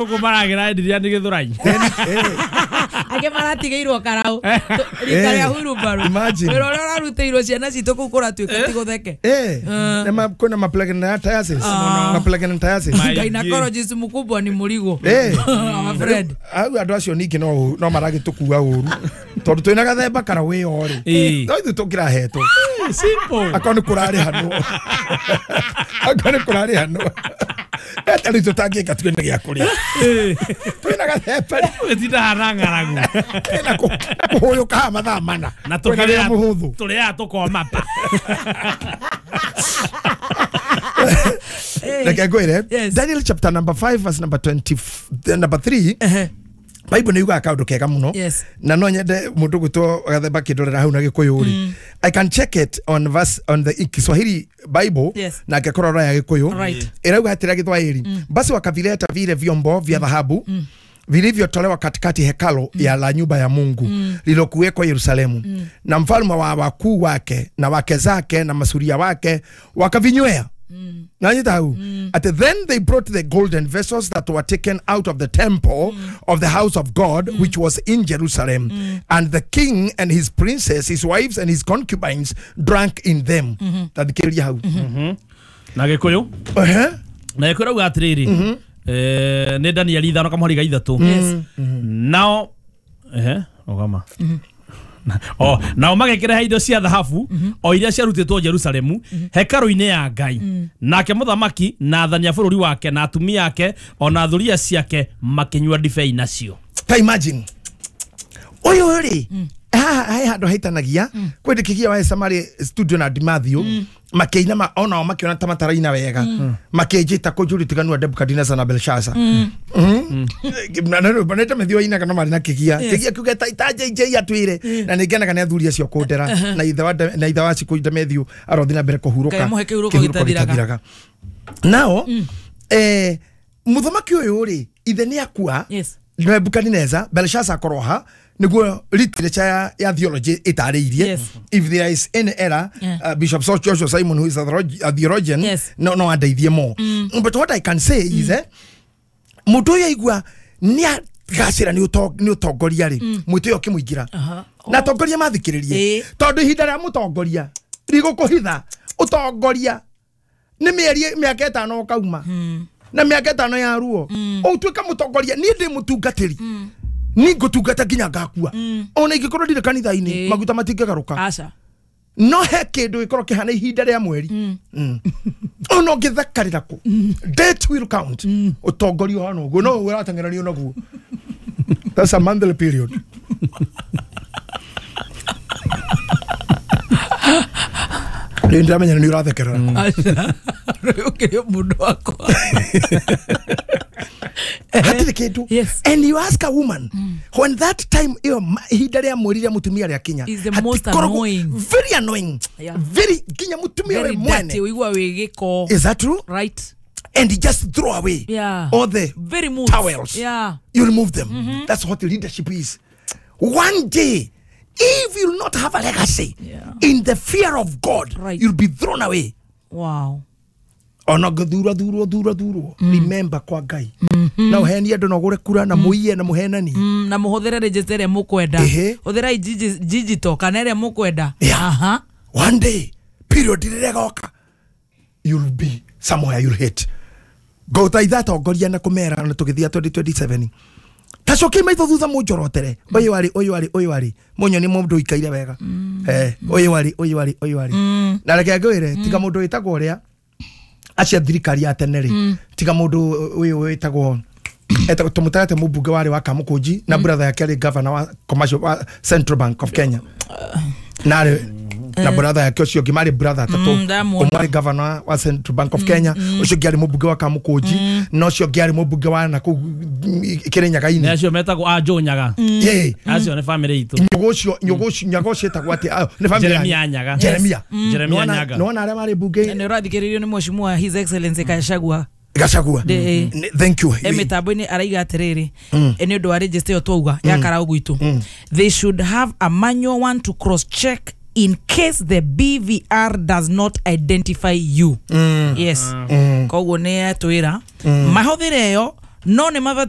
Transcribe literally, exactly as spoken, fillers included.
Gũkũ maragĩra endiria nĩ Gĩthũrai. Angĩ maratigĩirwo karau rita rĩa hurumbaru. Imagine. Wĩra ũrĩa ũrarutĩirwo ciana citũ kũu kũratuĩka ti gũtheke. Eh, na ma- kwĩna ma-pregnantiasis. Ma-pregnantiasis. Gynecologist mkubwa ni mũrigo. Eh. Our friend. Au andũ acio ningĩ no no maragĩtũkua ũru tondũ twĩna gathemba kara wĩyo rĩ Ĩĩ. no ithuĩ tũngĩrahetwo Simple. akorwo nĩ kũrarĩhanwo akorwo nĩ kũrarĩhanwo eta rĩu tũtangĩka twĩna gĩa kũrĩa twĩna gathemba rĩ Gũtinda hana ng'aragu. na kũ- na kũhũyũka haha mathaa mana Na Twĩna wĩra tũkĩrĩa mũhũthũ tũrĩaga tũkoma pa. Reke ngwĩre. Yes. Daniel chapter number five verse number twenty number three. Ehe. Bible nĩ yugaga kaũndũ kega mũno. Yes. Na no nyende mũndũ gwĩtwo gathemba kĩndorera hau na gĩkũyũ rĩ, I can check it on verse on the Kiswahili Bible. Yes. Na ngĩkorwo roya gĩkũyũ. Right. Ĩrauga atĩrĩa Gĩthwaĩri, basi wakavileta vile vyombo vya dhahabu vilivyotolewa katikati hekalo ya la nyumba ya Mungu lilokuwekwa Yerusalemu, na mfalme wa wakuu wake na wake zake na masuria wake wakavinywea. Nanyita hau Ati then they brought the golden vessels that were taken out of the temple of the house of God which was in Jerusalem, and the king and his princes, his wives and his concubines drank in them. Tathikĩrĩria hau. Na Gĩkũyũ. Ehe. Na Gĩkũyũ rauga atĩrĩrĩ. Eh, nĩ Danieli ithano kamũhari ga ithatũ. Yes. Nao ehe rũgama. O nao magĩkĩrehe indo cia thahabu o iria ciarutĩtwo Jerusalemu hekarũ-inĩ ya Ngai, nake mũthamaki na athani a bũrũri wake na atumia ake ona thuriya ciake makĩnyua ndibei nacio. Ta imagine ũyũ rĩ, haha he handũ haitanagia kwĩ ndĩkĩgia wa Samari studio na Dimathio makĩina ma onao makĩona ta mataraina wega makĩnjĩta kũnjũria ũtiganu wa Nebukadneza na Belshaza. Nete methio ainaga no marĩ na kĩgia kĩgia kiuge ta ta J J atwĩre na nĩngenaga nĩ athuri acio kũndera na ithe wa na ithe wa Cikũ Demethiũ arothiĩ na mbere kũhurũka. Ngai amũhe kĩhurũko gĩtathiraga. Nao eh mũthamaki ũyũ rĩ, ithe nĩ akua. Yes. Nebukadneza, Belshazzar akoroha niguo literature ya, ya theology itarĩirie. Yes. If there is any error, Yeah. uh, Bishop Joshua Simon, who is a, theologi- a theologian, Yes. no no andeithie more. But what I can say is, eh mũndũ ũyũ aigua nĩ agacĩra nĩ ũto- nĩ ũtongoria rĩ, mwĩtĩo ũkĩmũingĩra Aha. na atongoria mathikĩrĩrie Ĩĩ. tondũ ihinda rĩa mũtongoria rigũkũhitha ũtongoria nĩ mĩeri mĩaka ĩtano ũkauma na mĩaka ĩtano ya ruo ũtuĩka mũtongoria. Niĩ ndĩ mũtungatĩri, niĩ ngũtungata nginya ngakua ona ingĩkorwo ndirĩ kanitha-inĩ. Ĩĩ. Maguta matingĩgarũka. Aca. No he kĩndũ gĩkorwo kĩhana ihinda rĩa mweri. Mm. Ona ũngĩthakarĩra kũ, date will count. Ũtongoria ũhana ũguo no ũrateng'eranio naguo. That's a monthly period. Rĩu ndĩramenya nĩ ũrathekerera. Aca. Rĩu ũkĩrĩ mũndũ wakwa. Hatirĩ kĩndũ. Yes. And you ask a woman, when that time ĩyo ma- ihinda rĩa mweri rĩa mũtumia rĩakinya, Is the most hatikoragwo- annoying. Very annoying. Yeah. Very nginya mũtumia we Very mwene. dirty, ũigua wĩ gĩko. Is that true? Right. And you just throw away Yeah. all the Very moods. towels. Yeah. You remove them. That's what leadership is. One day, if you not have a legacy Yeah. in the fear of God, Right. you'll be thrown away. Wow. Ona ngĩthura thurwo thura thurwo, remember kwa Ngai na ũhenie andũ na ũgũre kura na mũiye na mũhenani. Mm, na mũhũthĩre register ĩrĩa mũkwenda. Ehe. Hũthĩrai digi- digital kana ĩrĩa mũkwenda. Yeah. Aha. One day period rĩrĩa ĩgoka, you'll be somewhere you'll hit. Ngũthaitha atongoria na kũmera na tũgĩthiĩ twenty twenty-seven, tacokie maitho thutha mũnjorotere ũyũ arĩ, ũyũ arĩ, ũyũ arĩ mũnyoni mũndũ ũikaire wega. Eh, ũyũ arĩ, ũyũ arĩ, ũyũ arĩ. Na reke ngwĩre, tiga mũndũ wĩtagwo ũrĩa acia thirikari ya tene rĩ, tiga mũndũ ũyũ wĩtagwo etagwo tũmũtarate mũmbunge warĩ wa Kamũkũnji na brother yake arĩ governor wa commercial wa Central Bank of Kenya na arĩ na brother yake ũcio ũngĩ marĩ brother atatũ. Mm, ndamuona. Ũmwe arĩ governor wa Central Bank of Kenya, ũcio ũngĩ arĩ mũmbunge wa Kamũkũnji na ũcio ũngĩ arĩ mũmbunge wa nakũu Kĩrĩnyaga-inĩ. Nĩ acio metagwo a Nyaga. Yeah. Acio nĩ family itũ. Nyaga ũcio, nyaga ũcio, nyaga ũcio etagwo atĩa? Ah, nĩ family Jeremia yanyu. Nyaga. Jeremia. Jeremia Nĩwona- Nyaga. Nĩwona arĩa marĩ mbunge Nĩ ũrathikĩrĩrio nĩ mheshimiwa His Excellency Gachagua. Gachagua. Ndĩ- Nĩ- thank you. E mĩtambo-inĩ araiga atĩrĩrĩ, e nĩ ũndũ wa register ĩyo twauga ya karau gwitũ, they should have a manual one to cross check in case the B V R does not identify you. Yes, koguo nĩ atwĩra mahũthĩre ĩyo. No nĩ mabatiĩ.